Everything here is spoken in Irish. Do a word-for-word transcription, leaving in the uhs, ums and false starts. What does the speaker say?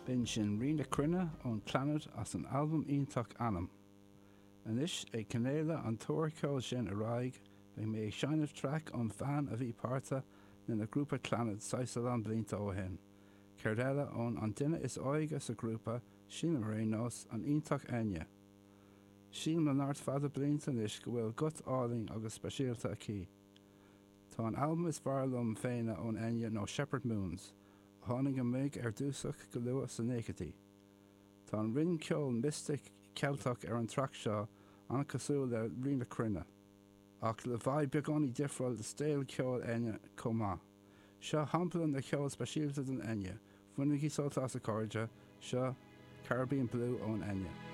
B'in sin Rí na Cruinne ón Clannad as an albam iontach Anam. Anois ag coinneáil an tuar ceoil sin ar aghaidh beidh mé ag seinm traic ón bhean a bhí páirteach lena grúpa Clannad saghas a lán blianta ó shin. Céard eile ón an duine is óige sa ghrúpa sílim ar aon nós an iontach Enya. Sílim le neart fada blianta anois go bhfuil guth álainn agus speisialta aici. Tá an albam is fearr liom féin ón Enya nó Shepherd Moons, a tháinig amach ar dtús go luath sna nóchaidí. Tá an rian ceoil mystic Ceilteach ar an traic seo an-chosúil le Rí na Cruinne, ach le vibe beagáinín difriúil de stíl ceoil Enya chomh maith. Seo shampla na ceol speisialta den Enya, Bainigí sult as a chairde, seo Caribbean Blue ón Enya.